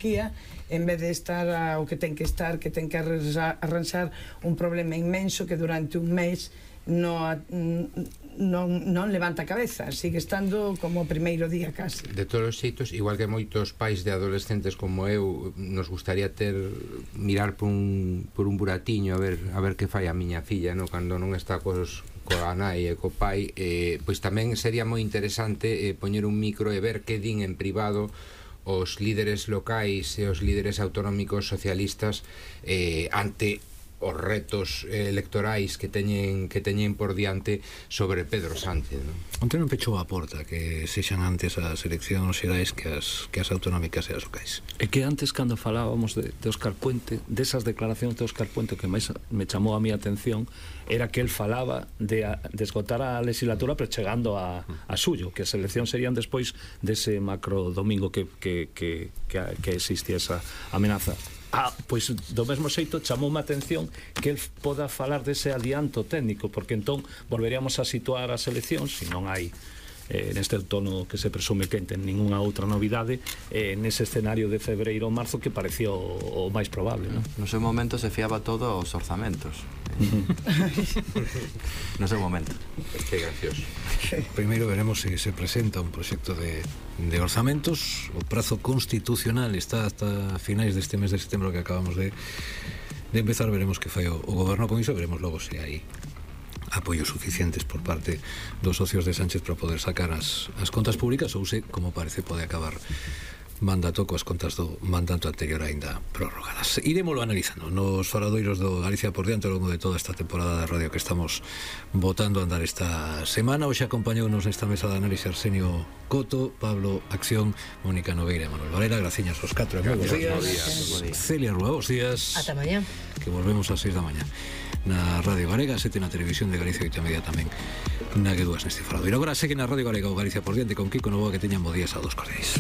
en vez de estar o que ten que estar, que ten que arranxar un problema inmenso que durante un mes non levanta a cabeza, sigue estando como o primeiro día casi. De todos os xeitos, igual que moitos pais de adolescentes como eu, nos gustaría mirar por un buratiño a ver que fai a miña filla, no? Cando non está coa nai e co pai, pois tamén sería moi interesante poñer un micro e ver que din en privado os líderes locais e os líderes autonómicos socialistas ante os retos electorais que teñen por diante sobre Pedro Sánchez, non? Onte non pechou a porta que sexan antes as eleccións xerais que as autonómicas e as locais. E que antes, cando falábamos de Óscar Puente, desas declaracións de Óscar Puente, que máis me chamou a mi atención era que el falaba de esgotar a legislatura pero chegando a suyo, que as eleccións serían despois dese macro domingo que existía esa amenaza. Pois do mesmo xeito chamoume a atención que el poda falar dese adianto técnico, porque entón volveríamos a situar as eleccións, se non hai neste outono que se presume que ten ninguna outra novidade, nese escenario de febreiro ou marzo que parecía o máis probable, non? No seu momento se fiaba todo aos orzamentos. No seu momento. Que gracioso. Primeiro veremos se se presenta un proxecto de orzamentos. O prazo constitucional está hasta finais deste mes de setembro que acabamos de empezar. Veremos que fai o goberno con iso, veremos logo se hai apoios suficientes por parte dos socios de Sánchez para poder sacar as contas públicas ou se, como parece, pode acabar mandato coas contas do mandato anterior aínda prorrogadas. Iremoslo analizando nos faradoiros do Galicia por diante ao longo de toda esta temporada de radio que estamos botando a andar esta semana. Hoxe acompañounos nesta mesa de análise Arsenio Coto, Pablo Acción, Mónica Nogueira e Manuel Varela. Graciñas aos 4 e moi bons días. Celia Rúa, bons días. Ata mañá. Que volvemos ás 6 da mañá na Radio Galega, 7 na Televisión de Galicia, 8:30 tamén na G2 neste faradoiro. Agora segue na Radio Galega o Galicia por diante con Kiko Novoa, que teñan bo días a dos cordiais.